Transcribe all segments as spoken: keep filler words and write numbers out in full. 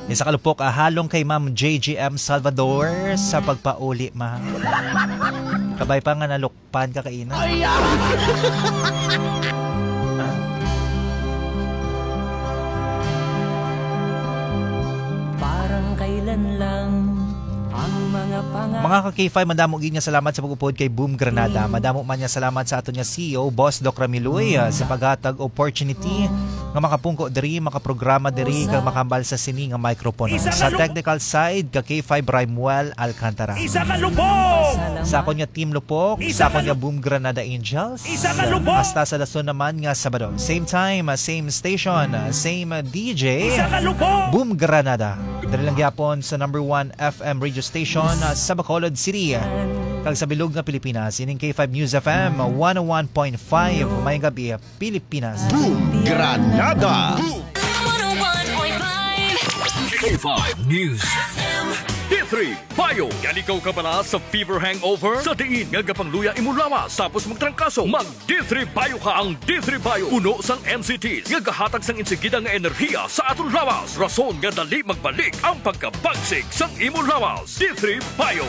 Isa ka lupok, ah, halong kay Ma'am J G M Salvador sa pagpauli, ma'am. Kabay pa nga nalukpan ka kaina. Ay, ah! Parang kailan lang ang mga panga- Mga ka-K five, madamo gid nga salamat sa pag-upod kay Boom Granada. Madamo man nga salamat sa aton nga C E O, Boss Doc Ramiloy, ah, sa paghatag opportunity nga makapungko diri, makaprograma diri, kag makahambal sa sini nga microphone. Sa technical side, ka K five Raimuel Alcantara. Isa ka lubong! Sa akon nga Team Lupok, sa akon nga Boom Granada Angels, hasta sa dason naman nga Sabado. Same time, ah, same station, ah, same, ah, D J. Isa ka lubong! Boom Granada. Dali lang gyapon sa number one F M radio station, ah, sa Bacolod City. Kag sa bilog nga Pilipinas, ining K five News F M, one oh one point five, may gabi, Pilipinas. Boom Granada. One oh one point five. K five News. D three Bio. Gali ka kabala sa fever hangover? Sa diin nga gapangluya imo lawas tapos magtrangkaso, mag D three Bio ka. Ang D three Bio puno sang M C Ts nga gahatag sang insigida nga enerhiya sa aton lawas, rason nga dali magbalik ang pagkabagsik sang imo lawas. D three Bio.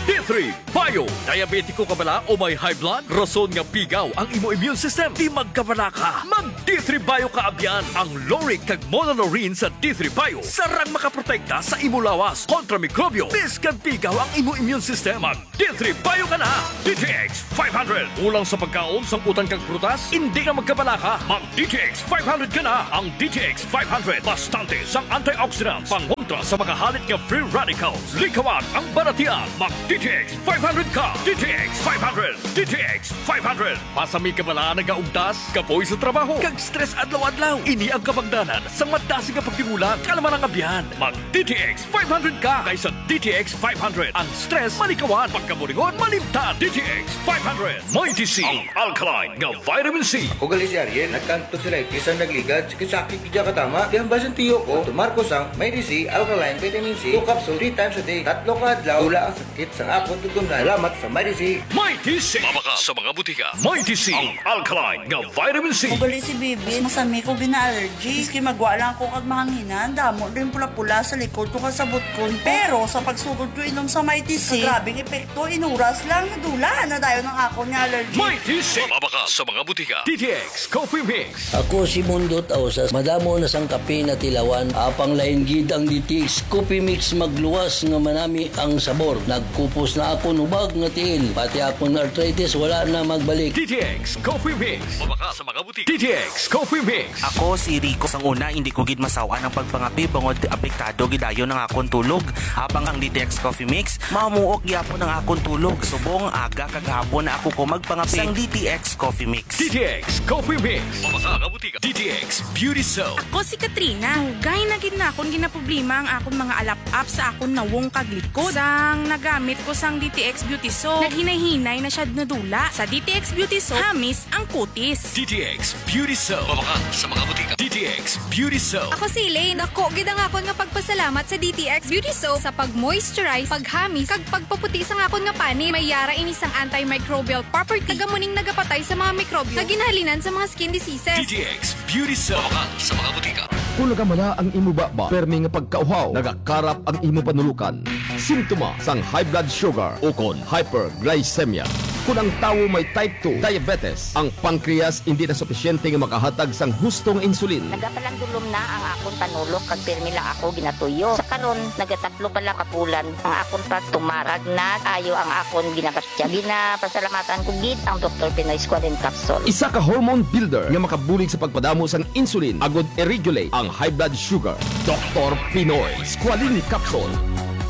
D three Bio. Diabetiko ka bala o may high blood? Rason nga pigaw ang imo immune system. Di magkabala ka. Mag D three Bio ka abyan. Ang lauric kag monolaurin sa D three Bio sarang makaprotekta sa imo lawas kontra mikrobyo. Bisan pigaw ang imo immune system, mag D three Bio ka na. D T X five hundred. Kulang sa pagkaon, sangkutan kag prutas? Hindi ka magkabala ka. Mag D T X five hundred ka na. Ang D T X five hundred bastante sang antioxidants, pangontra sa mga halit nga free radicals. Likawan ang balatian. Mag D T X five hundred ka. D T X five hundred. D T X five hundred. Pasami ka bala nagaugtas, kapoy sa trabaho, kag stress adlaw-adlaw? Ini ang kabangdanan sang madasig nga pagdimula, kalma nga abyan. Mag D T X five hundred ka, kay sa D T X five hundred, ang stress malikawan, pagkaburingon malimtan. D T X five hundred. Mighty C, ang alkaline nga vitamin C. Ako gali si Ariel, nagkantog sa lightis ang nagligad, sakit-sakit gid katama. Kaya ang basin tiyo ko, tumar ko sang Mighty C, alkaline vitamin C, two capsule, three times a day. Tatlo ka adlaw, wala ang sakit sang akon tutunlan. Salamat sa Mighty C. Mighty C. Mabakal sa mga butika. Mighty C, ang alkaline nga vitamin C. Ako gali si Bibi, masami ko gina-allergy. Maski magwa lang ako kag mahanginan, damo din pula-pula sa likod ko kag sa butkon. Pero sa pagsugod ko inom sa Mighty C, grabe ang epekto, inuras lang, nadula na dayon ang akon nga allergy. Mighty C. Mabakal sa mga butika. D T X Coffee Mix. Ako si Mundo Tausas. Madamo na sang kape natilawan. Apang lain gid ang D T X Coffee Mix, magluwas nga manami ang sabor. Nagkupos na akon hubag nga tiil. Pati akon arthritis wala na magbalik. D T X Coffee Mix. Mabakal sa mga butika. D T X Coffee Mix. Ako si Rico. Sang una, hindi ko gid masaw-an ang pagpangape bangod apektado gid dayon ang akon tulog. Apang ang D T X Coffee Mix, mamuok gyapon ang akon tulog. Subong aga kag hapon na ako ko magpangape sang D T X Coffee Mix. D T X Coffee Mix. Mabakal sa mga butika. D T X Beauty Soap. Ako si Katrina. Dugay na gid na akon ginaproblema ang akon mga alap-ap sa akon nawong kag likod. Sang nagamit ko sang D T X Beauty Soap, naghinay-hinay na siya nadula. Sa D T X Beauty Soap, hamis ang kutis. D T X Beauty Soap. Mabakal sa mga butika. D T X Beauty Soap. Ako si Elaine. Dako gid ang akon nga pagpasalamat sa D T X Beauty Soap sa pag-moisturize, paghamis, kag pagpaputi sang akon nga panit. May yara ini sang antimicrobial property, kag amo ning nagapatay sa mga mikrobyo nga ginahalinan sa mga skin diseases. D T X Beauty Soap. Mabakal sa mga butika. Kung nagamala ang imo baba, permi nga pagkauhaw, nagakarap ang imo panulokan, simptoma sang high blood sugar ukon hyperglycemia. Kung ang tawo may type two diabetes, ang pancreas hindi na supisyente nga makahatag sang husto nga insulin. Nagapalandulom na ang akon panulok kag pirmi lang ako ginatuyo. Sa karon, nagatatlo pa lang ka bulan ang akon pagtumar kag nag-ayo ang akon ginapasya. Ginapasalamatan ko gid ang Doktor Pinoy Squalene Capsule. Isa ka hormone builder nga makabulig sa pagpadamo sang insulin agud i-regulate ang high blood sugar. Doktor Pinoy Squalene Capsule.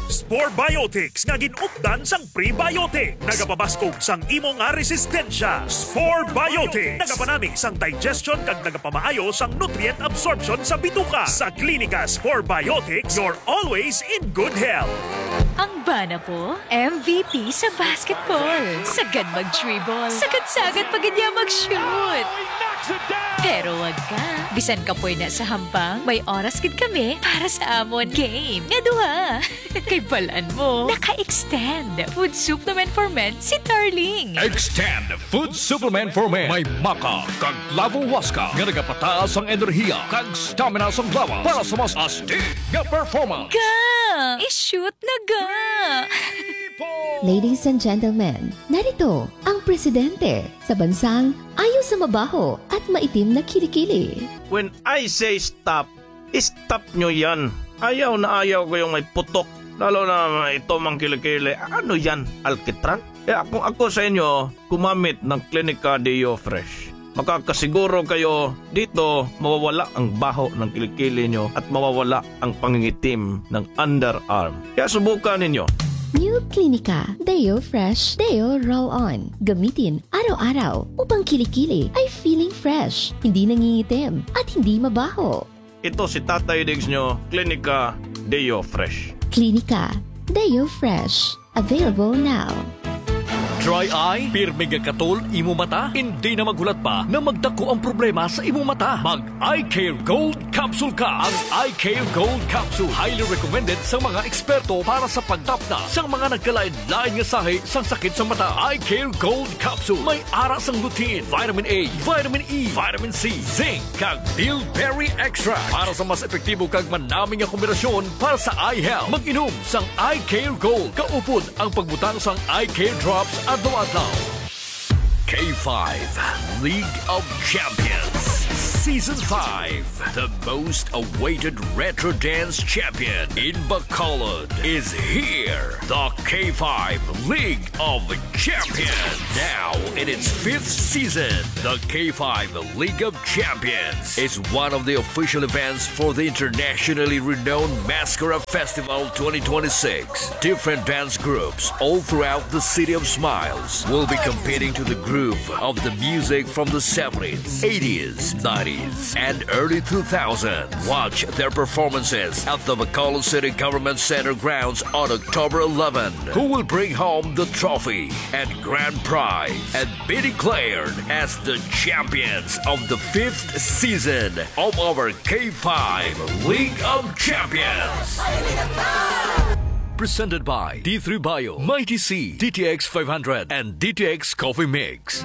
Spore Biotics nga gin-updan sang prebiotic. Nagapabaskog sang imo nga resistensya. Spore Biotics. Nagapanami sang digestion kag nagapamaayo sang nutrient absorption sa bituka. Sa Klinika Spore Biotics, you're always in good health. Ang bana ko, M V P sa basketball. Sagad mag-dribble. Sagad-sagad pa gid niya mag-shoot. Pero wag ka. Bisan kapoy na sa hambang, may oras gid kami para sa amon game nga duha. Kay balan mo, naka-extend Food Supplement for Men si Darling. Extend Food Supplement for Men. May maca kag clavo huasca nga nagapataas ang enerhiya kag stamina sang lawas para sa mas astig nga performance. Ga! I-shoot na ga! Ladies and gentlemen, narito ang presidente sa bansang ayaw sa mabaho at maitim na kilikili. When I say stop, stop nyo yan. Ayaw na ayaw ko yung may putok. Lalo na ito mang kilikili. Ano yan? Alkitran? Kaya kung ako sa inyo, gumamit ng Clinica Deo Fresh. Makakasiguro kayo dito mawawala ang baho ng kilikili nyo at mawawala ang pangingitim ng underarm. Kaya subukan ninyo. New Clinica Deo Fresh Deo Roll On. Gamitin araw-araw upang kilikili ay feeling fresh, hindi nangingitim, at hindi mabaho. Ito si Tatay Diggs nyo, Clinica Deo Fresh. Clinica Deo Fresh. Available now. Dry eye? Pirmi nga katol imo mata? Hindi na maghulat pa na magdako ang problema sa imo mata. Mag Eye Care Gold Capsule ka. Ang Eye Care Gold Capsule, highly recommended sa mga eksperto para sa pagtapna sa mga nagkalain-lain nga sahi sang sakit sa mata. Eye Care Gold Capsule. May ara sang lutein, vitamin A, vitamin E, vitamin C, zinc, kag bilberry extract para sa mas epektibo kag manami nga kombinasyon para sa eye health. Mag-inom sang Eye Care Gold kaupod ang pagbutang sang Eye Care Drops adlaw-adlaw. K five League of Champions Season five. The most awaited retro dance champion in Bacolod is here. The K five League of Champions. Now in its fifth season, the K five League of Champions is one of the official events for the internationally renowned Mascara Festival twenty twenty-six. Different dance groups all throughout the City of Smiles will be competing to the groove of the music from the seventies, eighties, nineties, and early two thousands. Watch their performances at the Bacolod City Government Center grounds on October eleven. Who will bring home the trophy and grand prize and be declared as the champions of the fifth season of our K five League of Champions? Presented by D three Bio, Mighty C, D T X five hundred, and D T X Coffee Mix.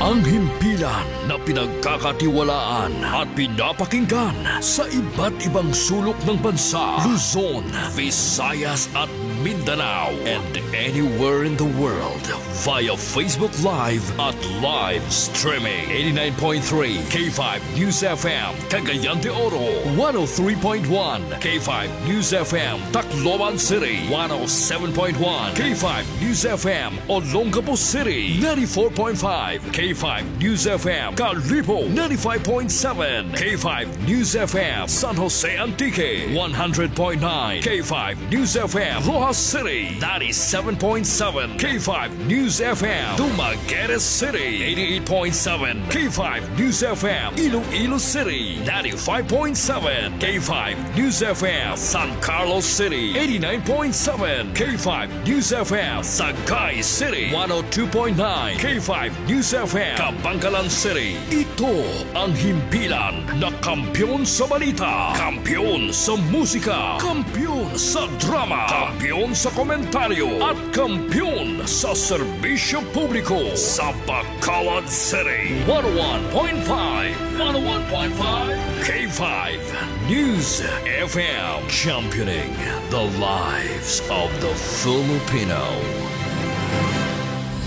Ang himpilan na pinagkakatiwalaan at pinapakinggan sa iba't ibang sulok ng bansa, Luzon, Visayas, at Mindanao, and anywhere in the world via Facebook Live at live streaming. Eighty-nine point three K five News F M, Cagayan de Oro, one oh three point one K five News F M, Tacloban City, one oh seven point one K five News F M, Olongapo City, ninety-four point five K five News F M, Kalibo, ninety-five point seven K five News F M, San Jose Antique, one hundred point nine K five News F M, Roxas City, ninety-seven point seven K five News F M, Dumaguete City, eighty-eight point seven K five News F M, Iloilo City, ninety-five point seven K five News F M, San Carlos City, eighty-nine point seven K five News F M, Sagay City, one oh two point nine K five News F M, Kabankalan City. Ito ang himpilan na kampiyon sa balita, kampiyon sa musika, kampiyon sa drama, kampiyon sa komentaryo, at kampiyon sa serbisyo publiko sa Bacolod City. One oh one point five, one oh one point five K five News F M, championing the lives of the Filipino.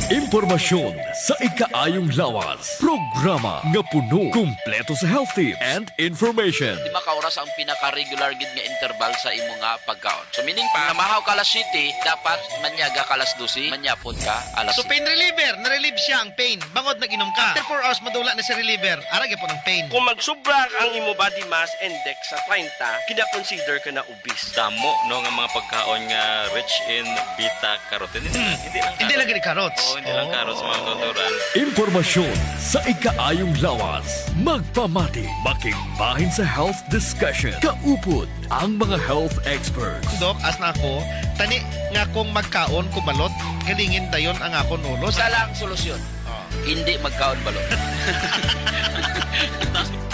Impormasyon sa ikaayong lawas. Programa nga puno, kumpleto sa health tips and information. Lima ka oras ang pinaka-regular gid nga interval sa imo nga pagkaon. So, meaning pa, namahaw ka alas siyete, dapat manyaga ka alas dose, manyapon ka alas So, pain reliever, na-relieve siya ang pain. Bangod nag-inom ka. After four hours, madula na si reliever. Ara gyapon ang pain. Kung magsubra ang imo body mass index sa treinta, kina-consider ka na obese. Damo, no, nga mga pagkaon nga rich in beta carotene. Hindi lang Hindi lang carrots. Gani carrots. Oo, hindi lang Oh. carrots, mga natural. Impormasyon sa ikaayong lawas. Magpamati, makigbahin sa health discussion. Kaupod ang mga health experts. Dok, as na ako, tani nga kung magkaon ko balot, galingin dayon ang akon ulo. Isa lang solusyon. Oh. Hindi magkaon balo.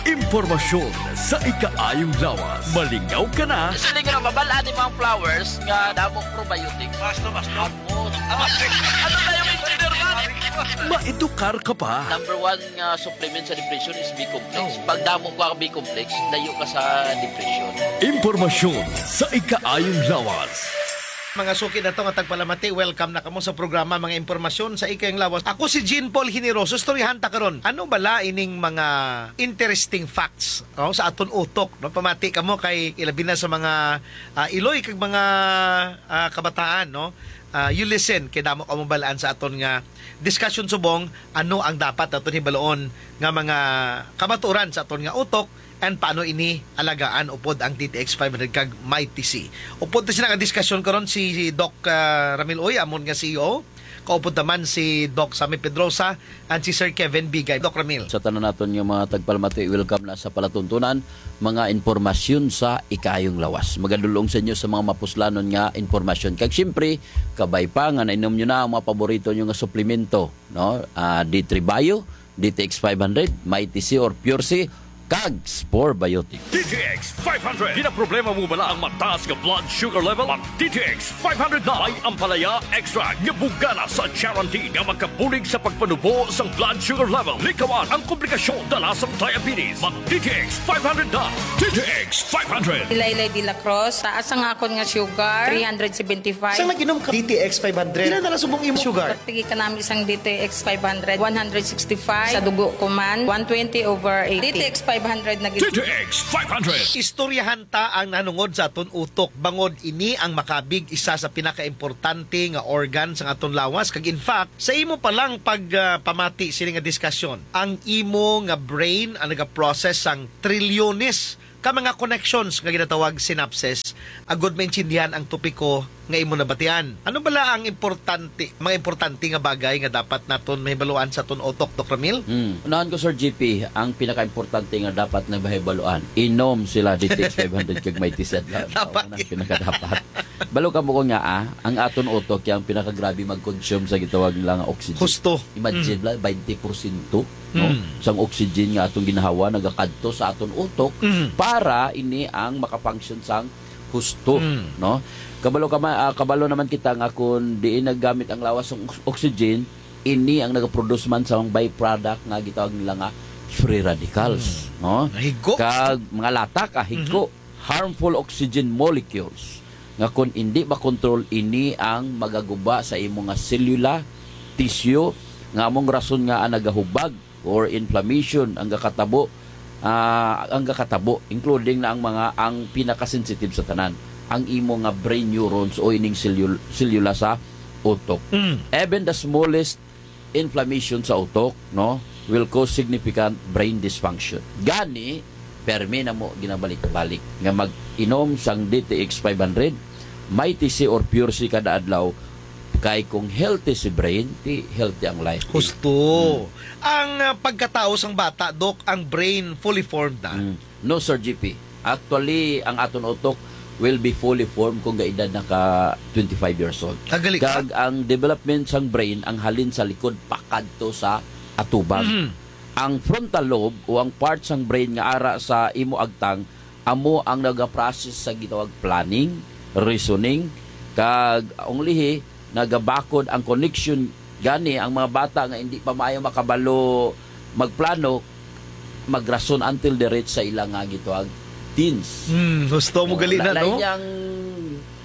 Impormasyon sa ikaayong lawas. Malingaw ka na. Siling nga mabal-an ni mga flowers nga damo probiotics. Basta, basta. Ano na yung engineer man? Maedukar ka pa. Number one nga supplement sa depression is B-complex. Pag damo ka B-complex, layo ka sa depression. Impormasyon sa ikaayong lawas. Mga suki na to nga tagpalamati, welcome na kamo sa programa Mga Impormasyon sa Ikayong Lawas. Ako si Jean Paul Generoso, istoryahan ta karon. Ano bala ining mga interesting facts, no, sa aton utok, no? Pamati kamo kay ilabi na sa mga ah, iloy kag mga ah, kabataan, no? Ah, you listen kay damo kamo balaan sa aton nga discussion subong ano ang dapat naton hibaluon nga mga kamatuoran sa aton nga utok and paano ini alagaan upod ang D T X five hundred kag Mighty C. Upod ta sila nga diskusyon karon si Doc ah, Ramil Uy, amon nga C E O. Kaupod naman si Doc Sammy Pedrosa and si Sir Kevin Bigay. Doc Ramil. Sa tanan naton nga mga tagpalamati, welcome na sa palatuntunan, mga impormasyon sa ikayong lawas. Magadulong sa inyo sa mga mapuslanon nga impormasyon. Kag siyempre, kabay pa nga nainom nyo na ang mga paborito nyo nga suplemento, no? Ah, D three Bio, D T X five hundred, Mighty C or Pure C, kag Spore Biotic. D T X five hundred. Ginaproblema mo bala ang mataas nga blood sugar level? Mag D T X five hundred na. May ampalaya extract nga bugana sa Charantin nga makabulig sa pagpanubo sang blood sugar level. Likawan ang komplikasyon dala sang diabetes. Mag D T X five hundred na. D T X five hundred. Ilaylay de la Cruz, taas ang akon nga sugar, three hundred seventy-five. Sa nag-inom ka D T X five hundred, pila na lang subong imong sugar? Tigi ka namin sang D T X five hundred, one hundred sixty-five. Sa dugo ko man, one twenty over eighty. D T X five hundred na gid. D T X five hundred. Istoryahan ta ang nanungod sa aton utok, bangod ini ang makabig isa sa pinakaimportante nga organ sa aton lawas. Kag in fact, sa imo pa lang pag ah, pamati sini nga diskusyon, ang imo nga brain ang nagaprocess sang trilyones ka mga connections nga ginatawag synapses, agud maintindihan ang topiko nga imo nabatian. Ano bala ang importante, mga importante nga bagay nga dapat naton mahibaluan sa aton utok, Doc Ramil? Hmm. Unahan ko, Sir G P, ang pinakaimportante nga dapat na mahibaluan, inom sila D T X five hundred kag Mighty C. Dapat. Ang pinakadapat. Balo ka mo ko nga, ah, ang aton utok yung pinakagrabe mag-consume sa gitawag nila nga oxygen. Husto. Imagine, bala, twenty porsyento, no? Mm. Sang oxygen nga atong ginhawa nagakadto sa aton utok Mm. para ini ang makafunction sang husto, Mm. no? Kabalo ka ma-, ah, kabalo naman kita nga kung diin naggamit ang lawas sang ox-, oxygen, ini ang nagaproduce man sa mga byproduct nga gitawag nila nga free radicals, no? Nahigo. Kag mga latak, ah, higo, harmful oxygen molecules nga kung hindi makontrol, ini ang magaguba sa imo nga selula, tissue, nga among rason nga ang nagahubag or inflammation ang gakatabo, ah, ang gakatabo, including na ang mga, ang pinakasensitive sa tanan, ang imo nga brain neurons o ining selul-, selula sa utok. Mm. Even the smallest inflammation sa utok, no, will cause significant brain dysfunction. Gani, permi na mo ginabalik-balik nga mag-inom sang D T X five hundred, Mighty C or Pure C kada adlaw, kay kung healthy si brain, ti healthy ang life. Husto. Ang ah, pagkatao sang bata, Doc, ang brain fully formed na. Mm. No, Sir G P. Actually, ang aton utok will be fully formed kung gaedad na ka twenty-five years old. Kagali ka? Kag ang development sang brain ang halin sa likod pakadto sa atubang. Mhm. Ang frontal lobe o ang part sang brain nga ara sa imo agtang, amo ang nagaprocess sa gitawag planning, reasoning, kag ang lihi nagabakod ang connection. Gani ang mga bata nga hindi pa maayo makabalo magplano, magrason until the reach sa ila nga gitawag teens. Hmm, husto mo gali na, Lain no? Niyang,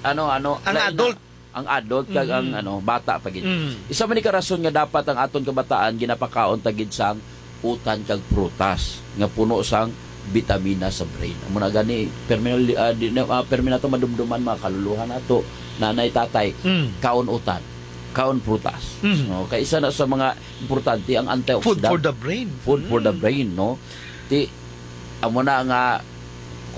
ano, ano, Ang lain na adult. Ang adult kag ang, ano, bata pa gid. Mm. Isa man ni ka rason nga dapat ang aton kabataan ginapakaon ta gid sang utan kag prutas nga puno sang bitamina sa brain. Amo na gani, permi, ah, di, na, ah, permi nato madumduman, mga kaluluhan nato, nanay, tatay, Mm. kaon utan, kaon prutas. Mm. No, kay isa na sa mga importante ang antioxidant. Food for the brain. Food for the Mm. brain, no? Ti, amo na nga,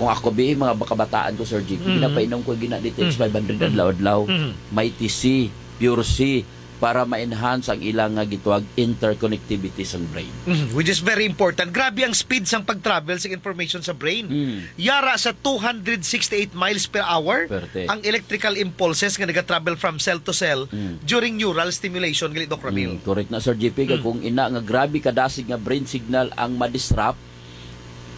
kung ako bi, mga kabataan ko, Sir G P, Mm. ginapainom ko gina D T X Mm. five hundred Mm. adlaw-adlaw. Mm. Mighty C, Pure C, para ma-enhance ang ilang nga gitawag interconnectivity sang brain. Mhm, which is very important. Grabe ang speed sang pag-travel sa information sa brain. Mm. Yara sa two hundred sixty-eight miles per hour Perte. ang electrical impulses nga nagatravel from cell to cell Mm. during neural stimulation, gali, Doc Ramil. Mm, correct na, Sir G P. Kag Mm. kung ina nga grabe kadasig nga brain signal ang ma-disrupt,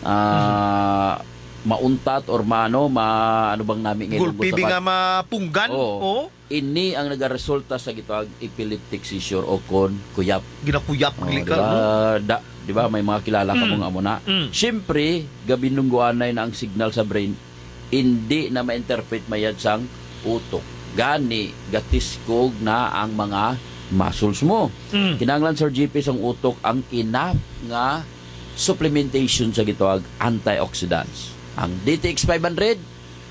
ah, Mm. mauntat or maano, ma-, ano bang nami nga Gulpi ilunggo sa di nga bag-, mapunggan? Oo. Oo. Ini ang nagaresulta sa gitawag epileptic seizure o kon kuyap. Ginakuyap, Oh, gali di ka, ba? no? Da-, di ba, may mga kilala ka Mm. mo nga amo na. Mm. Siyempre, gabinungguanay na ang signal sa brain, hindi na ma-interpret mayad sang utok. Gani, gatiskog na ang mga muscles mo. Mm. Kinahanglan, Sir G P, sang utok ang enough nga supplementation sa gitawag antioxidants. Ang D T X five hundred,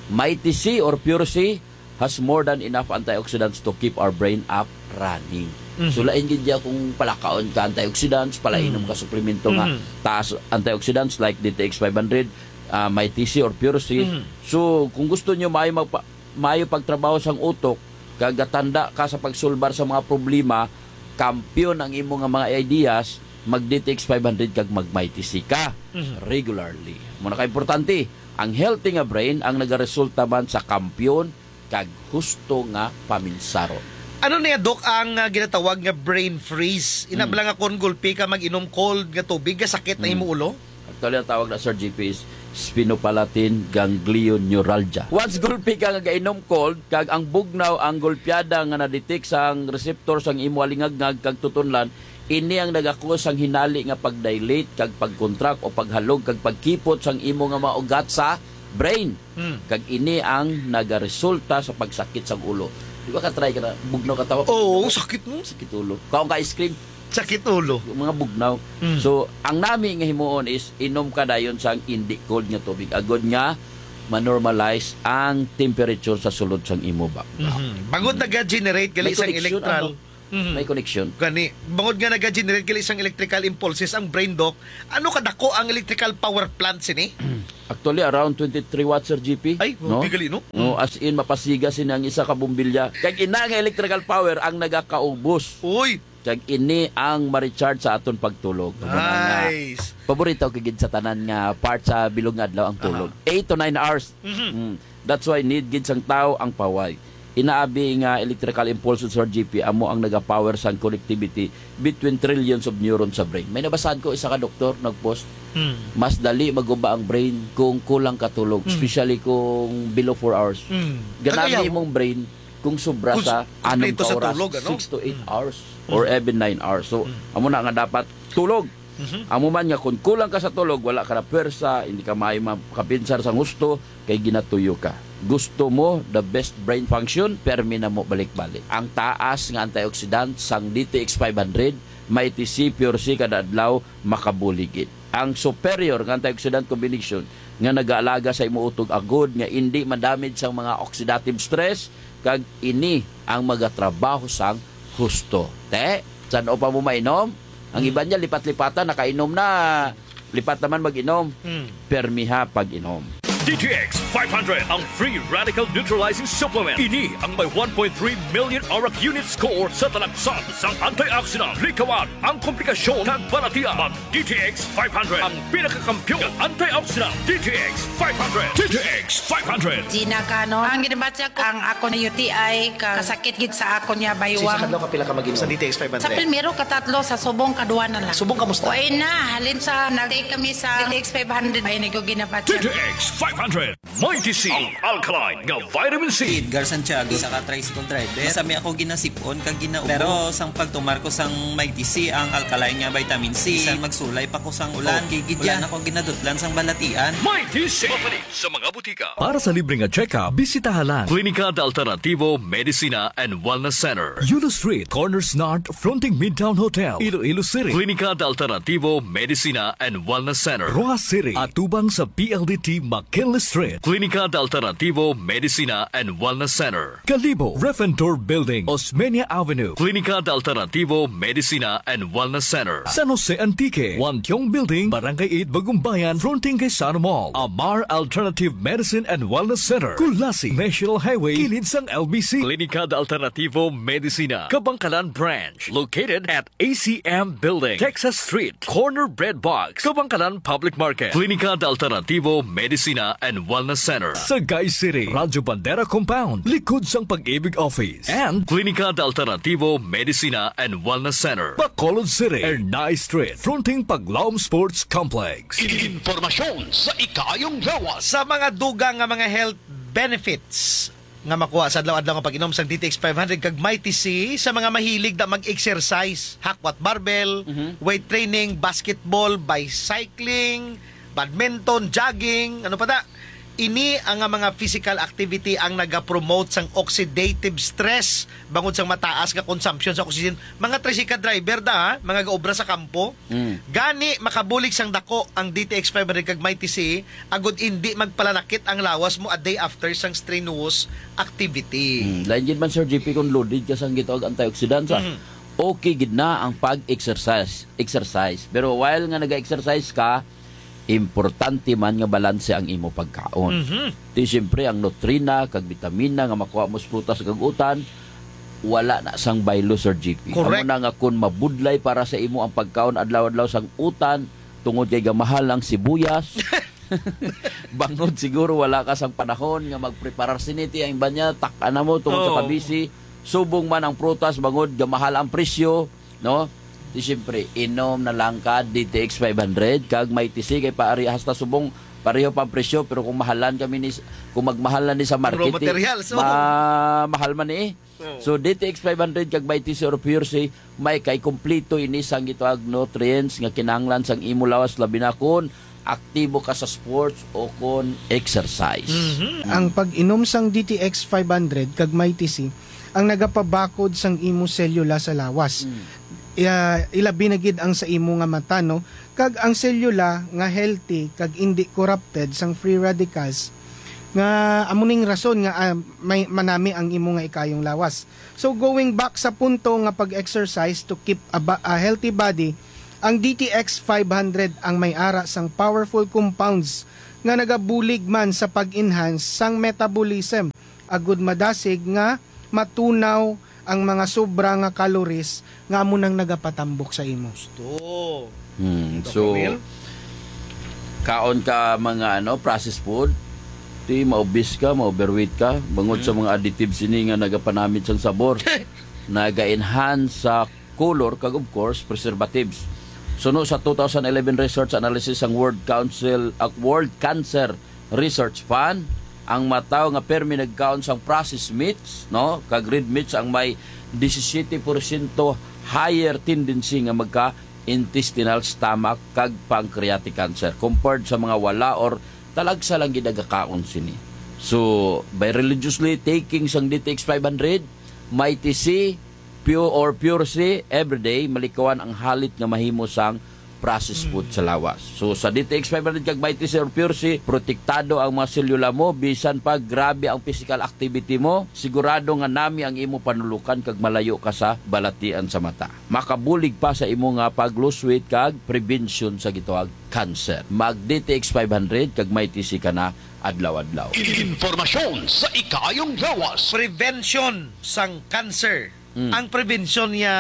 Mighty C or Pure C, has more than enough antioxidants to keep our brain up running. Mhm. So, lain gid niya kung palakaon ka antioxidants, palainom Mhm. ka suplemento nga Mhm. taas antioxidants like D T X five hundred, ah, Mighty C or Pure C. Mhm. So, kung gusto nyo maayo magpa-, maayo pagtrabaho sang utok, kag gatanda ka sa pagsulbar sa mga problema, kampiyon ang imo nga mga ideas, mag D T X five hundred kag mag Mighty C ka Mhm. regularly. Muna ka importante, ang healthy nga brain ang nagaresulta man sa kampiyon kag husto nga paminsaron. Ano niya, Doc, ang, ah, ginatawag nga brain freeze? Ina Hmm. bala nga kon gulpi ka mag-inom cold nga tubig, gasakit na Hmm. imo ulo? Actually, ang tawag na, Sir G P, is sphenopalatine ganglion neuralgia. Once gulpi ka nga gainom cold, kag ang bugnaw ang gulpiada nga na-detect sang receptor sang imo alingagngag kag tutunlan, ini ang nagakos sang hinali nga pag-dilate kag pag-contract o paghalog kag pagkipot sang imo nga mga ugat sa brain. Hmm. Kag ini ang nagaresulta sa pagsakit sang ulo. Di ba ka-try ka na, bugnaw ka tawag? Oo, sakit mo. Sakit ulo. Kaon ka ice cream? Sakit ulo. Yung mga bugnaw. Hmm. So, ang nami nga himuon is inom ka dayon sang indi cold nga tubig. Agod nga ma-normalize ang temperature sa sulod sang imo ba. Mhm. Bangod naga-generate gali May sang connection, electral. ano? Mhm. May connection. Gani, bangod nga naga-generate gali sang electrical impulses ang brain, Doc, ano kadako ang electrical power plant sini? Actually, around twenty-three watts, Sir G P. Ay, no? Bigali, no? No, Mm. as in, mapasiga sini ang isa ka bombilya. Kag ina nga electrical power ang nagakaubos. Uy! Kag ini ang ma-recharge sa aton pagtulog. Nice. Paborito ko gid sa tanan nga part sa bilog nga adlaw ang Aha. tulog. Eight to nine hours. Mhm. Mm. That's why need gid sang tawo ang paway. Inaabi nga electrical impulse, Sir G P, amo ang nagapower sang connectivity between trillions of neurons sa brain. May nabasahan ko, isa ka doktor nag-post, Hmm. mas dali maguba ang brain kung kulang ka tulog, Hmm. especially kung below four hours. Hmm. Ganami Kagayaw. imong brain kung sobra Kung sa s-, anom kumpleto ka sa oras, tulog, ano? six to eight Hmm. hours, Hmm. or even nine hours. So, Hmm. amo na nga dapat tulog. Mhm. Amo man nga kung kulang ka sa tulog, wala ka na pwersa, hindi ka maayo makapinsar sang husto, kay ginatuyo ka. Gusto mo the best brain function? Permi na mo balik-balik. Ang taas nga antioxidant sang D T X five hundred, Mighty C, Pure C kada adlaw, makabulig gid. Ang superior nga antioxidant combination nga nagaalaga sa imo utog agod nga indi madamage sang mga oxidative stress, kag ini ang magatrabaho sang husto. Te, san-o pa mo mainom? Ang Hmm. iba niya, lipat-lipatan, nakainom na. Lipat naman mag-inom. Hmm. Permiha pag-inom. D T X five hundred, ang free radical neutralizing supplement. Ini ang may one point three million arak unit score sa talagsan sang antioxidant. Likawan ang komplikasyon kag balatian. Mag D T X five hundred, ang pinakakampiyon nga antioxidant. D T X five hundred. D T X five hundred. Gina Canon. Ang ginabatyak ang ako na U T I, ka-, kasakit gid sa ako niya, baywang. Sa isa ka adlaw, kapila ka mag-inom? Sa D T X five hundred. Sa primero, katatlo, sa subong, kadua na lang. Subong, kamusta? Uy na, halin sa nag-take kami sa D T X five hundred, ay, nag-, ginabatyak. D T X five hundred. Mighty C, ang alkaline nga vitamin C. Edgar Santiago, isa ka tricycle driver. Masami ako ginasipon kag ginaubo. Pero sang pagtumar ko sang Mighty C, ang alkaline nga vitamin C, bisan magsulay pa ko sang ulan, okay gid yan. Wala na ko ginadutlan sang balatian. Mighty C. Mapalit sa mga butika. Para sa libre nga check-up, bisitaha lang Klinika de Alternativo Medicina and Wellness Center, Yulo Street, Corners North, fronting Midtown Hotel, Iloilo City. Klinika de Alternativo Medicina and Wellness Center, Roxas City, atubang sa P L D T McKinley Street. Clínica de Alternativo Medicina and Wellness Center, Kalibo, Refentor Building, Osmeña Avenue. Clínica de Alternativo Medicina and Wellness Center, San Jose Antique, Wantiong Building, Barangay eight, Bagumbayan, fronting kay Sano Mall. Amar Alternative Medicine and Wellness Center, Culasi, National Highway, kilid sang L B C. Clínica de Alternativo Medicina, Kabangkalan Branch, located at A C M Building, Texas Street, corner Bread Box, Kabangkalan Public Market. Clínica de Alternativo Medicina and Wellness Center, Sagay City, Radyo Bandera Compound, likod sang Pag-ibig Office. And Clínica de Alternativo Medicina and Wellness Center, Bacolod City, Ernai Street, fronting Paglaom Sports Complex. Impormasyon sa ikaayong lawas. Sa mga dugang nga mga health benefits nga makuha sa adlaw-adlaw nga pag-inom sang D T X five hundred kag Mighty C, sa mga mahilig na mag-exercise, hakwat barbell, Mhm. weight training, basketball, bicycling, badminton, jogging, ano pa da? Ini ang nga mga physical activity ang nagapromote sang oxidative stress bangod sang mataas nga consumption sa oxygen. Mga tricycle driver da, ha? Mga gaobra sa kampo. Mm. Gani, makabulig sang dako ang D T X five hundred kag Mighty C, agud indi magpalanakit ang lawas mo a day after sang strenuous activity. Mm. Lain gid man, Sir G P, kung loaded ka sang gitawag antioxidants, ah. Mm. Okay gid na ang pag-exercise, exercise. Pero while nga nag-exercise ka, importante man nga balanse ang imo pagkaon. Mhm. Ti siyempre, ang nutrina kag bitamina nga makuha mo sa prutas kag utan, wala na sang baylo, Sir G P. Correct. Amo na nga, kung mabudlay para sa imo ang pagkaon adlaw-adlaw sang utan, tungod kay gamahal ang sibuyas, bangod siguro wala ka sang panahon nga magpreparar sini, ti ang iba niya, tak-an na mo tungod sa Oo. kabisi, subong man ang prutas, bangod gamahal ang presyo, no? Di siyempre, inom na lang ka D T X five hundred kag Mighty C, kay paari hasta subong pareho pa ang presyo, pero kung mahalan kami ni, kung magmahal na ni sa market, Raw eh, materials, oh. ma-, mahal man ni, eh. Oh. So, D T X five hundred kag Mighty C or Pure C, may kay kompleto ini sang gitawag nutrients nga kinahanglan sang imo lawas, labi na kon aktibo ka sa sports o kon exercise. Mhm. Ang pag-inom sang D T X five hundred kag Mighty C ang nagapabakod sang imo selula sa lawas. Mm. Ya, ilabi na gid ang sa imo nga mata, no? Kag ang selula nga healthy kag indi corrupted sang free radicals, nga amo ning rason nga, ah, may manami ang imo nga ikayong lawas. So, going back sa punto nga pag-exercise to keep a, ba- a healthy body, ang D T X five hundred ang may ara sang powerful compounds nga nagabulig man sa pag-enhance sang metabolism, agud madasig nga matunaw ang mga sobra nga calories nga amo nang nagapatambok sa imo. Gusto. Hmm, Doktor so, Neil? Kaon ka mga, ano, processed food, ti ma-obese ka, ma-overweight ka, bangod sa Hmm. mga additives ini nga nagapanamit sang sabor, naga-enhance sa color, kag of course, preservatives. Suno sa two thousand eleven research analysis sang World Council, ah, World Cancer Research Fund, ang mga tawo nga permi nagkaon sang processed meats, no, kag red meats ang may disisiete porsyento higher tendency nga magka-intestinal, stomach, kag pancreatic cancer compared sa mga wala or talagsa lang gid nagakaon sini. So, by religiously taking sang D T X five hundred, Mighty C, Pure or Pure C, everyday, malikawan ang halit nga mahimo sang processed food sa lawas. So, sa D T X five hundred kag Mighty C or Pure C, protektado ang mga selula mo, bisan pa grabe ang physical activity mo, sigurado nga nami ang imo panulukan kag malayo ka sa balatian sa mata. Makabulig pa sa imo nga pag-lose weight kag prevention sa gitawag cancer. Mag D T X five hundred kag Mighty C ka na adlaw-adlaw. Impormasyon sa ikaayong lawas. Prevention sang cancer. Mm. Ang prevention niya,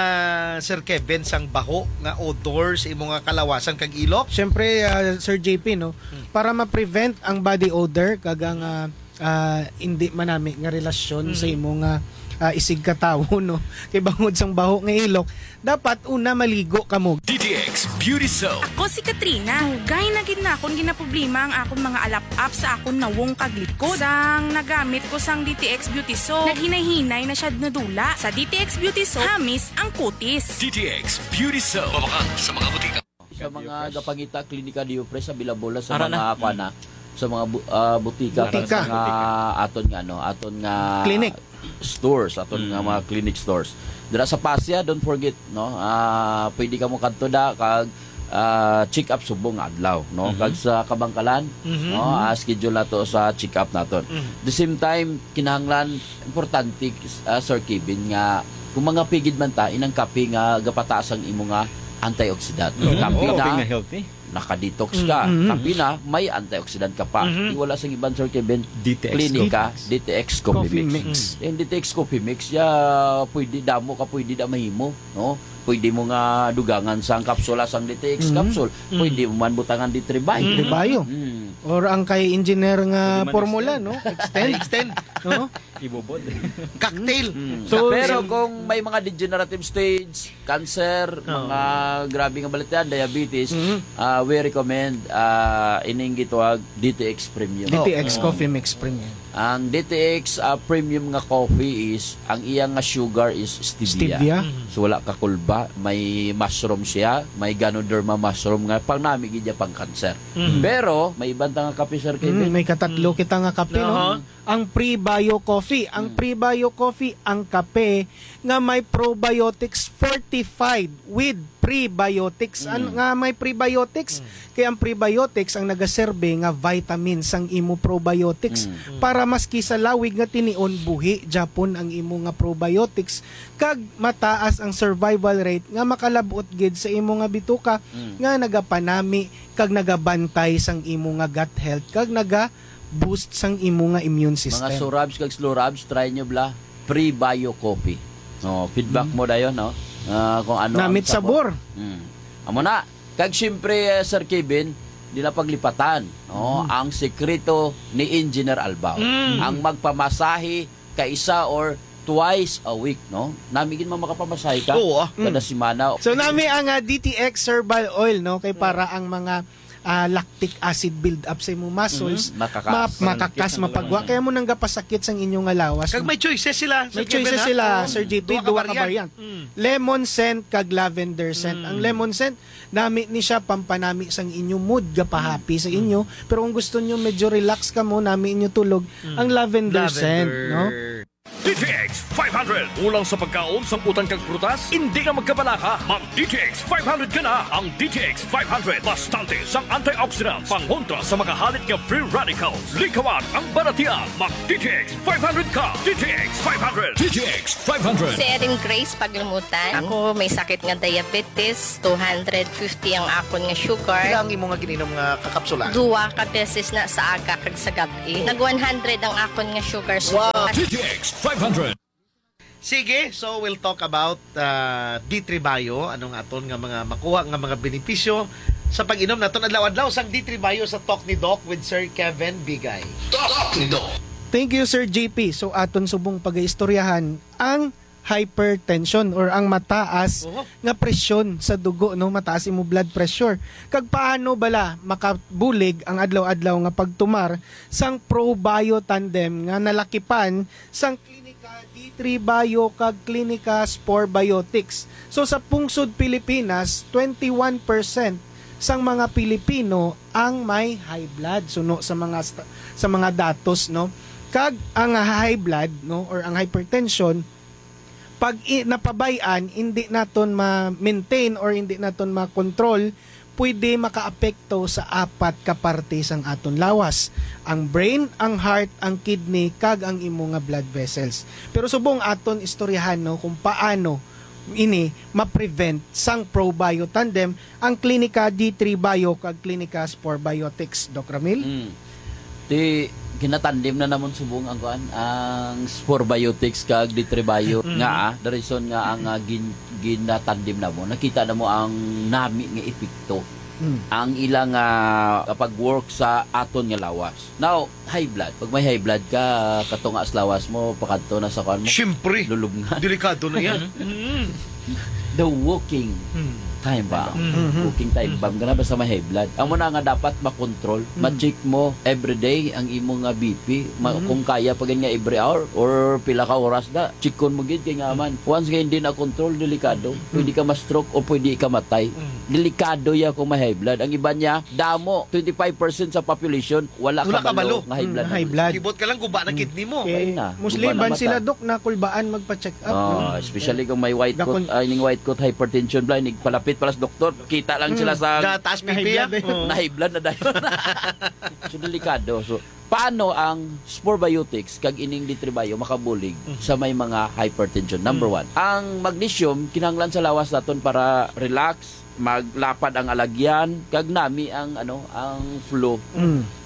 Sir Kevin, sang baho nga odor sa imo nga kalawasan kag ilok? Siyempre, ah, Sir J P, no, Mm. para ma-prevent ang body odor kag ang, ah, ah, hindi manami nga relasyon Mm. sa imo nga, ah, isigkatawo, no? Kay bangod sang baho nga ilok, dapat una maligo kamo. D T X Beauty Soap. Ako si Katrina. Dugay na gid na akon ginaproblema ang akon mga alap-ap sa akon nawong kag likod. Sang nagamit ko sang D T X Beauty Soap, naghinay-hinay na siya nadula. Sa D T X Beauty Soap, hamis ang kutis. D T X Beauty Soap. Mabakal sa mga butika. Sa mga gapangita, Klinika Diopres, available na sa Ara mga, na. kuwan na, sa mga bu-, ah, butika, Butika. sa mga aton nga, ano, aton nga Clinic. stores, aton nga Mm. mga clinic stores. Dira sa Pasya, don't forget, no? Ah, pwede ka mo kadto da, kag, ah, check-up subong nga adlaw, no? Mhm. Kag sa kabangkalan, Mhm. no, ah, schedule nato sa check-up naton. Mhm. The same time, kinahanglan, importante, ah, Sir Kevin, nga kung mga pigid man ta, inang kape nga gapataas ang imo nga antioxidant. Mhm. Kape Oo. na, Kape nga healthy. naka-detox ka. Mhm. Kape na, may antioxidant ka pa. Mhm. Di wala sang iban, Sir Kevin, D T X klinika, Coffee Mix. D T X Coffee Coffee Mix. Mix. Yung D T X Coffee Mix, ya, pwede damo ka, pwede da mahimo, no? Pwede mo nga dugangan sang kapsula sang D T X Mhm. capsule. Mhm. Pwede mo man butangan D three Bio. D three Bio. Mm. Or ang kay engineer nga Pwede man formula, extend. no? Extend. Extend. No? Ibubod. Cocktail. Mm. So, Pero si- kung may mga degenerative stage, cancer, Oo. mga grabe nga balatian, diabetes, Mhm. ah, we recommend, ah, ining gitawag D T X Premium. D T X Oo. Coffee Mix Premium. Ang D T X, ah, premium nga coffee is, ang iya nga sugar is stevia. Stevia? Mhm. So, wala ka kulba. May mushroom siya. May Ganoderma mushroom nga pang nami gid niya pang cancer. Mhm. Pero, may iban ta nga kape, Sir Kevin. Mm, may katatlo Mm. kita nga kape, no? Aha. Ang Prebio Coffee. Ang Mm. Prebio Coffee, ang kape nga may probiotics fortified with prebiotics. An-, Mm. nga may prebiotics, Mm. kay ang prebiotics ang nagaserbe nga vitamin sang imo probiotics Mm. para maski sa lawig nga tinion, buhi japon ang imo nga probiotics kag mataas ang survival rate nga makalab-ot gid sa imo nga bituka Mm. nga nagapanami kag nagabantay sang imo nga gut health kag naga-boost sang imo nga immune system. Mga Surabs kag Slurabs, try nyo bala. Prebio Coffee. Oh, feedback Mm. mo dayon, no? Ah, kung ano ang Namit sabor. sabor. Mm. Amo na. Kag siyempre, eh, Sir Kevin, di na paglipatan, no? Mm. Ang sekreto ni Engineer Albao. Mm. Ang magpamasahe kaisa or twice a week, no? Nami gid man makapamasahe ka Oo, ah. kada Mm. semana. So, nami ang, ah, D T X Herbal Oil, no? Kay Mm. para ang mga, ah, lactic acid build up sa imong muscles, Mhm. Makakas. ma-, makakas, Mananakit ang mapagwa. lawas. Kaya mo nang gapasakit sang inyo nga lawas. Kag may choices sila, May Sir choices Kevin, ha? sila, Oo. Sir J P, Duha ka duha ka variant. variant. Mm. Lemon scent kag lavender scent. Mm. Ang lemon scent, nami ni siya pampanami sang inyo mood, gapahappy sa Mm. inyo. Pero kung gusto nyo medyo relax ka mo, nami inyo tulog, Mm. ang lavender Lavender. scent, no? D T X five hundred. Kulang sa pagkaon, sang utan kag prutas? Hindi na magkabalaka. Mag D T X five hundred ka na. Ang D T X five hundred, bastante sang antioxidants, pangontra sa mga halit nga free radicals. Likawan ang baratian. Mag D T X five hundred ka. D T X five hundred. D T X five hundred. Si Erin Grace Paglumutan. Ako may sakit nga diabetes, two hundred fifty ang akon nga sugar. Pila ang imo nga gininom nga kakapsula? Duwa ka beses na sa aga kag sa gab-i. Nag one hundred ang akon nga sugar. Wow! Sugar. D T X five hundred. Sige, so we'll talk about, ah, D three Bio, anong aton nga mga makuha nga mga benepisyo sa pag-inom naton adlaw-adlaw sang D three Bio sa Talk ni Doc with Sir Kevin Bigay. Talk ni Doc. Thank you, Sir J P. So, aton subong pagaistoryahan ang hypertension or ang mataas Oho. nga presyon sa dugo, no? Mataas imo blood pressure. Kag paano bala makabulig ang adlaw-adlaw nga pagtumar sang Probio Tandem nga nalakipan sang Klinika D three Bio kag Klinika Spore Biotics? So, sa pungsod Pilipinas, twenty-one percent sang mga Pilipino ang may high blood, suno sa mga sta-, sa mga datos, no? Kag ang high blood, no, or ang hypertension, pag i-, napabay-an, hindi naton ma-maintain or hindi naton ma-control, pwede makaapekto sa apat ka parte sang aton lawas: ang brain, ang heart, ang kidney, kag ang imo nga blood vessels. Pero subong aton istoryahan, no, kung paano ini ma-prevent sang Probio Tandem, ang Klinika D three Bio kag Klinika Spore Biotics, Doc Ramil? Mm. Ti, ginatandem na namon subong ang kuan, ang Spore Biotics kag D three Bio Mm. nga, ah, the reason nga ang, ah, gin-, ginatandem namo, nakita namo ang nami nga epekto Mm. ang ilang, ah, kapag-work sa aton nga lawas. Now, high blood. Pag may high blood ka, katunga sa lawas mo, pakadto na sa kuan mo. Siyempre. Lulubngan. Delikado na yan. Mm. The walking Mm. time bomb. Mm. Walking time Mm. bomb. Kana basta may high blood. Amo na nga dapat makontrol. Mm. Ma-check mo everyday ang imo nga B P. Ma-, Mm. kung kaya pa gid nga every hour or pila ka oras na, checkon mo gid kay nga man. Once nga hindi na control, delikado. Mm. Pwede ka ma-stroke o pwede ka matay. Mm. Delikado ya kung may high blood. Ang iba niya, damo, twenty-five percent sa population, wala Wala kabalo kabalo. nga high Mm, blood high na. blood. Kibot ka lang, guba na Mm. kidney mo. Kay Ay na, mostly guba na iban mata. sila, Dok, na kulbaan magpa-check up, Oh, no? especially kung may white Dakon- coat, ah, ining white coat hypertension, blind, igpalapit Palas doktor, kita lang sila sa Gataas P P, ah. Nahiblad na dayon. So, delikado. So, paano ang Spore Biotics kag ining D three Bio makabulig sa may mga hypertension? Number one, ang magnesium kinahanglan sa lawas naton para relax, maglapad ang alagyan, kag nami ang, ano, ang flow.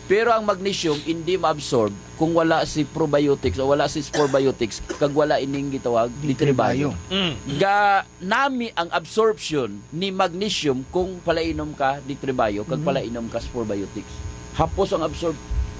Pero ang magnesium hindi ma-absorb kung wala si probiotics o wala si Spore Biotics kag wala ining gitawag D three Bio. Ga nami ang absorption ni magnesium kung palainom ka D three Bio kag palainom ka Spore Biotics. Hapos ang absorb,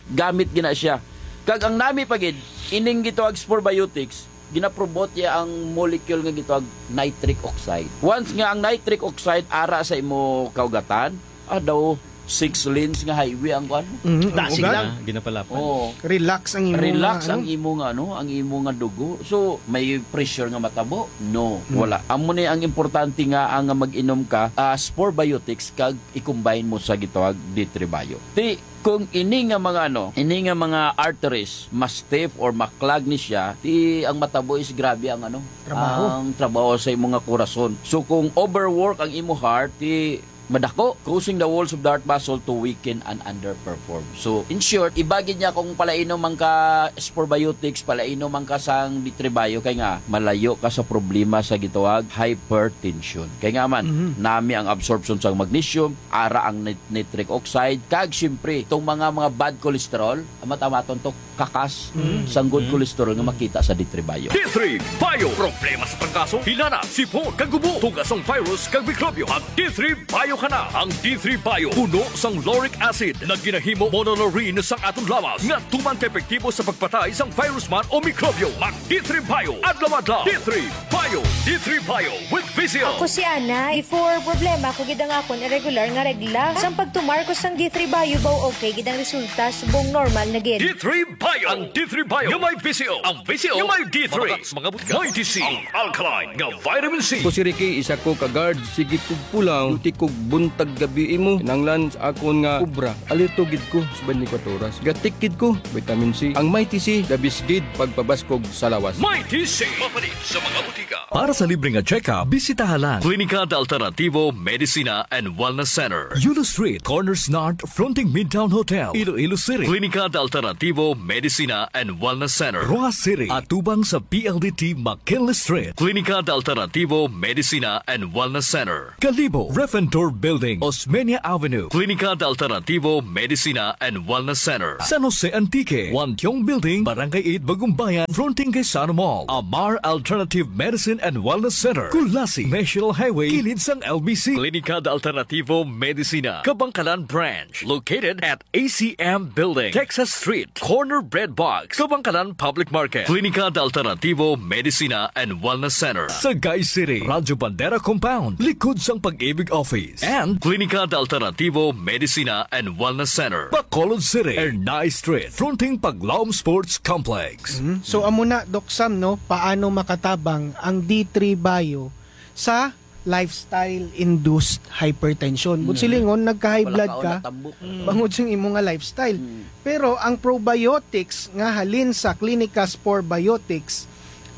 gamit gina siya. Kag ang nami pa gid, ining gitawag Spore Biotics, ginaprobot niya ang molecule nga gitawag nitric oxide. Once nga ang nitric oxide ara sa imo kaugatan, ah, daw six lanes nga highway ang kuan. Mhm, ang Dasig ugat. lang. Ah, ginapalapan. Oo. Relax ang imo Relax nga, ang ano? imo nga, ano, ang imo nga dugo. So, may pressure nga matabo? No, Mm. wala. Amo ni ang importante nga ang mag-inom ka, ah, Spore Biotics kag i-combine mo sa gitawag D three Bio. Ti, kung ini nga mga, ano, ini nga mga arteries ma-stiff or ma-clog ni siya, ti ang matabo is grabe ang, ano, Trabaho. ang trabaho sa imo nga kurason. So, kung overwork ang imo heart, ti madako, causing the walls of the heart muscle to weaken and underperform. So, in short, iba gid niya kung palainom man ka Spore Biotics, palainom man ka sang D three Bio, kay nga malayo ka sa problema sa gitawag hypertension. Kay nga man, Mhm. nami ang absorption sang magnesium, ara ang nit-, nitric oxide, kag siyempre, itong mga, mga bad cholesterol, ang matamaton to, kakas Mm. sang good Mm. cholesterol nga Mm. makita sa D three Bio. D three Bio. Problema sa trangkaso, hilana, sipon, kag ubo, tuga sang virus, kag mikrobyo. Mag D three Bio ka na. Ang D three Bio puno sang lauric acid nga ginahimo monolaurin sang aton lawas nga tuman ka epektibo sa pagpatay sang virus man o mikrobyo. Mag D three Bio adlaw-adlaw. D three Bio. D three Bio with V C O. Ako si Ana. Before, problema ko gid ang akon irregular nga regla. Sang pagtumar ko sang D three Bio, baw okay gid ang resulta, subong normal na gid. D three Bio. Ang D three Bio nga may V C O. Ang V C O nga may D three. Mga butika. May D C. Ang alkaline nga vitamin C. Ako si Ricky, isa ko ka guard. Sige kog pulaw, duty kog buntag gabi imo. Kinahanglan sa akon nga obra. Alerto gid ko sa twenty-four oras. Gatik gid ko, vitamin C. Ang Mighty C, the best gid pagpabaskog sa lawas. Mighty C. Mapalit sa mga butika. Para sa libre nga check-up, bisitaha lang Klinika de Alternativo Medicina and Wellness Center, Yulo Street, Corners North, fronting Midtown Hotel, Iloilo City. Klinika de Alternativo Medicina and Wellness Center, Roxas City, atubang sa P L D T McKinley Street. Klinika de Alternativo Medicina and Wellness Center, Kalibo, Refentor Building, Osmeña Avenue. Klinika de Alternativo Medicina and Wellness Center, San Jose Antique, Wantiong Building, Barangay eight, Bagumbayan, fronting kay Sano Mall. Amar Alternative Medicine and Wellness Center, Culasi, National Highway, kilid sang L B C. Klinika de Alternativo Medicina, Kabangkalan Branch, located at A C M Building, Texas Street, corner Bread Box, Kabangkalan Public Market. Klinika de Alternativo Medicina and Wellness Center, Sagay City, Radyo Bandera Compound, likod sang Pag-ibig Office. And Klinika de Alternativo Medicina and Wellness Center, Bacolod City, Ernai Street, fronting Paglaom Sports Complex. Mhm. So, amo na, Doc Sam, no, paano makatabang ang D three Bio sa lifestyle-induced hypertension? But Mm. silingon, nagka-high Wala blood ka, ka, wala tambok. Mm. bangod sa imo nga lifestyle. Mm. Pero ang probiotics nga halin sa Clinica Spore Biotics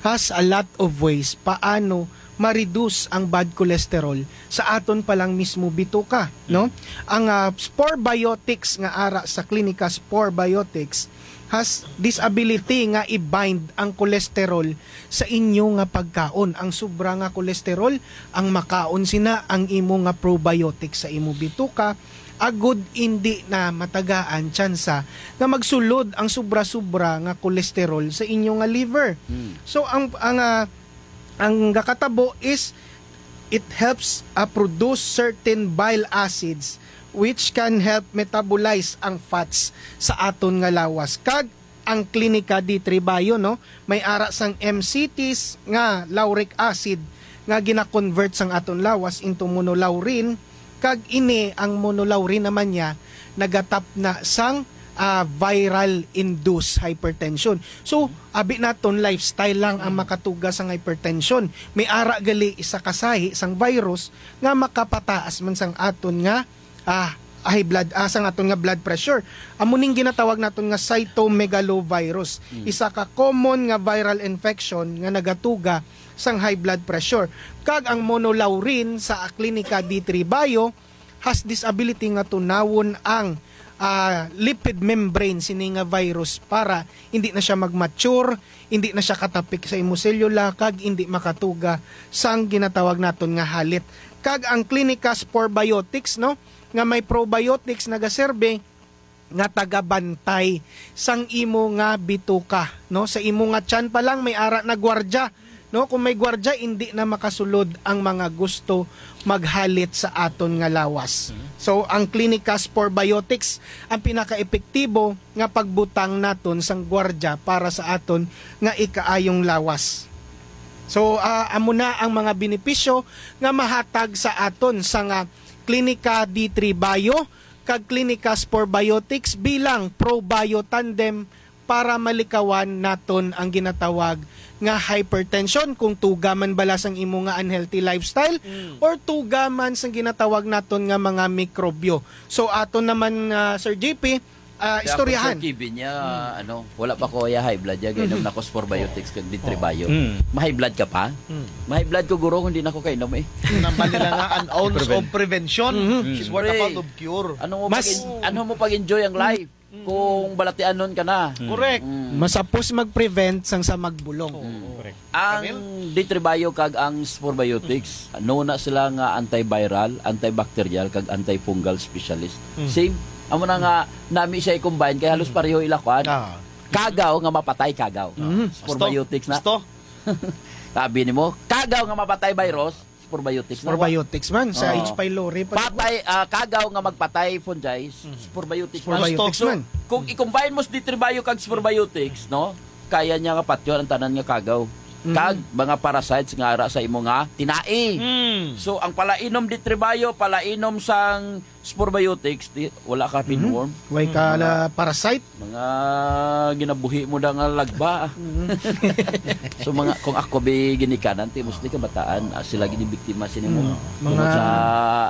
has a lot of ways paano ma-reduce ang bad cholesterol sa aton pa lang mismo bituka, no? Mm. Ang, ah, Spore Biotics nga ara sa Clinica Spore Biotics has this ability nga i-bind ang cholesterol sa inyo nga pagkaon. Ang sobra nga cholesterol, ang makaon sina ang imo nga probiotic sa imo bituka, agud indi na matagaan tsansa nga magsulod ang sobra-sobra nga cholesterol sa inyo nga liver. Hmm. So, ang, ang, ah, ang gakatabo is it helps, ah, produce certain bile acids which can help metabolize ang fats sa aton nga lawas. Kag ang Klinika D three Bio, no, may ara sang M C Ts nga lauric acid nga gina-convert sang aton lawas into monolaurin, kag ini ang monolaurin naman niya nagatapna sang, ah, viral induced hypertension. So, abi naton lifestyle lang ang makatuga sang hypertension. May ara gali isa ka sahi sang virus nga makapataas man sang aton nga, ah, high blood, ah, sang aton nga blood pressure. Amo ning ginatawag naton nga cytomegalovirus. Mm. Isa ka common nga viral infection nga nagatuga sang high blood pressure. Kag ang monolaurin sa Clinica D three Bio has this ability nga tunawon ang, ah, lipid membrane sini nga virus para hindi na siya mag-mature, hindi na siya katapik sa imo selula, kag hindi makatuga sang ginatawag naton nga halit. Kag ang Clinica Spore Biotics, no, nga may probiotics, nagaserbe nga tagabantay sang imo nga bituka, no? Sa imo nga tiyan pa lang may ara na gwardya, no? Kung may gwardya, hindi na makasulod ang mga gusto maghalit sa aton nga lawas. Mhm. So, ang Clinica Spore Biotics ang pinakaepektibo nga pagbutang naton sang gwardya para sa aton nga ikaayong lawas. So, ah, amo na ang mga benepisyo nga mahatag sa aton sa nga Klinika D three Bio kag Klinika Spore Biotics bilang ProBio Tandem para malikawan naton ang ginatawag nga hypertension, kung tuga man bala sang imo nga unhealthy lifestyle Mm. or tuga man sang ginatawag naton nga mga mikrobyo. So, ato naman, ah, Sir J P, ah, Kaya ako, istoryahan. Sir Kevin, niya, Mm. ano, wala pa ko ya high blood, ya, gainom Mm. na ko Spore Biotics kag D three Oo. Bio. Mm. Ma-high blood ka pa? Mm. Ma-high blood ko, guro, kung di na ko kainom eh. Nang nila nga, an ounce Prevent. of prevention Mm. is worth a Siyempre. pound of cure. Ano mo Mas pag-en-, ano mo pag-enjoy ang life Mm. kung balatianon ka na? Mm. Correct. Mm. Mas sapos mag-prevent sang sa magbulong. Oo. Mm. Correct. Ang Camille? D three Bio kag ang Spore Biotics, no na sila nga antiviral, antibacterial, kag antifungal specialist. Mm. Same. Amo na nga, nami siya i-combine, kay halos Mm. pareho ila kuan. Ah. Kagaw nga mapatay kagaw. Mm. Spore Gusto? Biotics na. Gusto? Sabi nimo, kagaw nga mapatay virus, Spore Biotics na. Spore Biotics man, sa Oo. H. pylori pa. Patay, ah, kagaw nga magpatay fungi, Mm. Spore Biotics Spore na. Biotics So, man. kung i-combine mo sa D three Bio kag Spore Biotics, no? Kaya niya nga patyon ang tanan nga kagaw. Mm. Kag mga parasites nga ara sa imo nga tinai. Mm. So, ang palainom D three Bio, palainom sang Spore Biotics, di, wala ka Mm. pinworm. Why ka Mm. la parasite? Mga ginabuhi mo na nga lagba. Mm. So, mga, kung ako bi ginikanan, ti mostly kabataan, ah, sila gid biktima sini mo. Mm. Tungod Mga sa,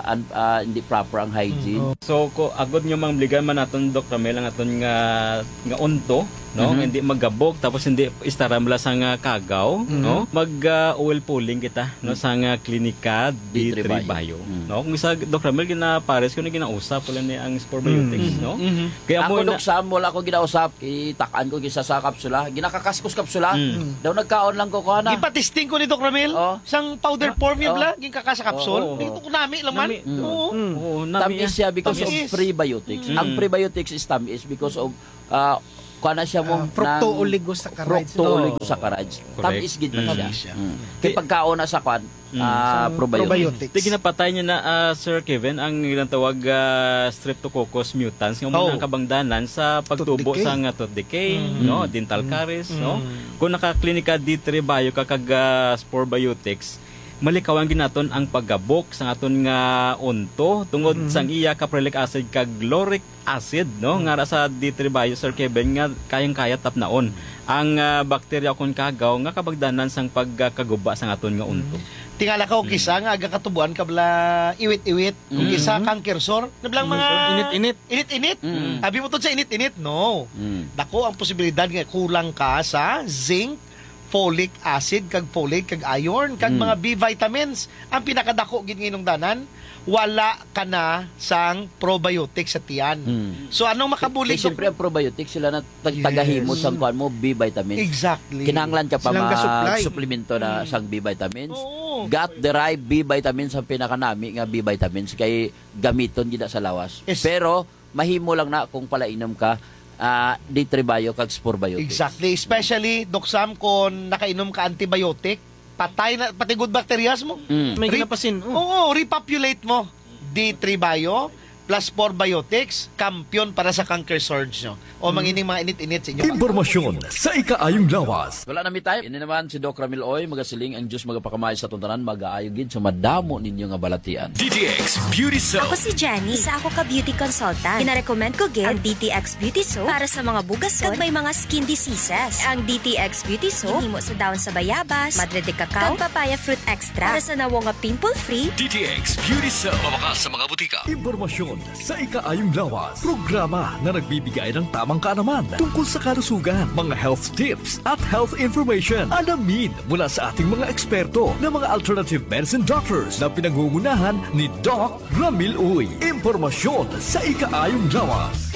an-, ah, hindi proper ang hygiene. Mm, oh. So, ko, agod nga mangligan man naton, Doc Ramel, ang aton nga, nga unto, no? Mhm. Nga hindi magabok, tapos hindi istaram la sa nga kagaw, Mm. no? Mag, ah, oil pulling kita, no? Mm. Sa nga klinika, D three D three Bio. Bio. Mm. No? Kung isa, Doc Ramel, ginapares ko na ginausap, wala ni ang Spore Biotics, Mm. no? Mhm. Kaya Ako, mo na Doc Sam, wala ko ginausap. Itak-an ko kisa sa kapsula. Ginakakas ko sa kapsula. Mm. Daw nagkaon lang ko, kuha na. Gipatisting ko ni Doc Ramil, Oh. sang powder Ah, form yun oh. bla, ginkaka sa kapsul. Oo, oo. Ito ko nami lang man. Nami. Mm. Oo. Mm. Oo, nami Tamis yan. siya because Tamis. of prebiotics. Mm. Ang prebiotics is tamis because of, ah, kuha na siya mo Ah, fructo ng oligosaccharides. fructo Oo. oligosaccharides. Correct. Tamis gid man Mm. siya. Tamis siya. Mm. Kay Di- pagkaon na sa kwan, Mm. ah, Sa probiotic. probiotics. Di ginapatay niya na, ah, Sir Kevin, ang ginatawag, ah, Streptococcus mutans, nga Oh. muna ang kabangdanan sa pagtubo Tooth decay. sa nga tooth decay, Mm. no? Mm. Dental Mm. caries, no? Mm. Kung naka-Klinika D three Bio ka kag, ah, Spore Biotics, malikawan ginaton ang paggabok sa aton nga unto tungod Mm. sang iya caprylic acid kag lauric acid, no? Hmm. Nga ra sa D three Bio, Sir Kevin, nga kayang-kaya tapnaon ang, ah, bakterya o kon kagaw nga kabagdanan sang pagkagubba sang aton nga unto. Hmm. Tingala ka, o Hmm. kisa nga aga katubuan ka bala iwit-iwit, o Hmm. kisa Hmm. canker sore, na bala Hmm. mga Init-init. init-init. Hmm. Abi mo to sa init-init, no. Hmm. Dako ang posibilidad nga kulang ka sa zinc, folic acid, kag folate, kag iron, kag Mm. mga B vitamins. Ang pinakadako gid nga hinungdanan, wala ka na sang probiotic sa tiyan. Mm. So, anong makabulig, Kay siyempre, Doktor? ang probiotic, sila na tag-, Yes. tagahimo sang kuwan mo, B vitamins. Exactly. Kinahanglan ka pa Silang ma-, gasupply. suplemento na Mm. sang B vitamins. Oo. Gut-derived B vitamins ang pinakanami nga B vitamins kay gamiton gid na sa lawas. Yes. Pero, mahimo lang na kung palainom ka, ah, D three Bio kag Spore Biotics. Exactly. Especially, Doc Sam, kung nakainom ka antibiotic, patay na, pati good bacterias mo. Mm. May Re-, ginapasin, oh. Oo, repopulate mo. D three Bio plus Spore Biotics, kampiyon para sa canker surge nyo. O Mm. mangining mga init-init sa inyo. Impormasyon sa ikaayong lawas. Wala na mi time. Ini naman si Doc Ramil Oy, magasiling ang Diyos magapakamay sa atong tanan, magaayo gid sa madamo ninyo nga balatian. D T X Beauty Soap. Ako si Jenny. Isa ako ka beauty consultant. Ginarecommend ko gid ang D T X Beauty Soap para sa mga bugason kag may mga skin diseases. Ang D T X Beauty Soap ginhimo sa dahon sa bayabas, madre de cacao, kag papaya fruit extract para sa nawong nga pimple-free. D T X Beauty Soap. Mabakas sa mga butika. Impormasyon Sa Ikaayong Lawas, programa na nagbibigay ng tamang kaalaman tungkol sa kalusugan, mga health tips at health information. Alamin mula sa ating mga eksperto na mga alternative medicine doctors na pinangungunahan ni Doc Ramil Uy. Impormasyon sa Ikaayong Lawas.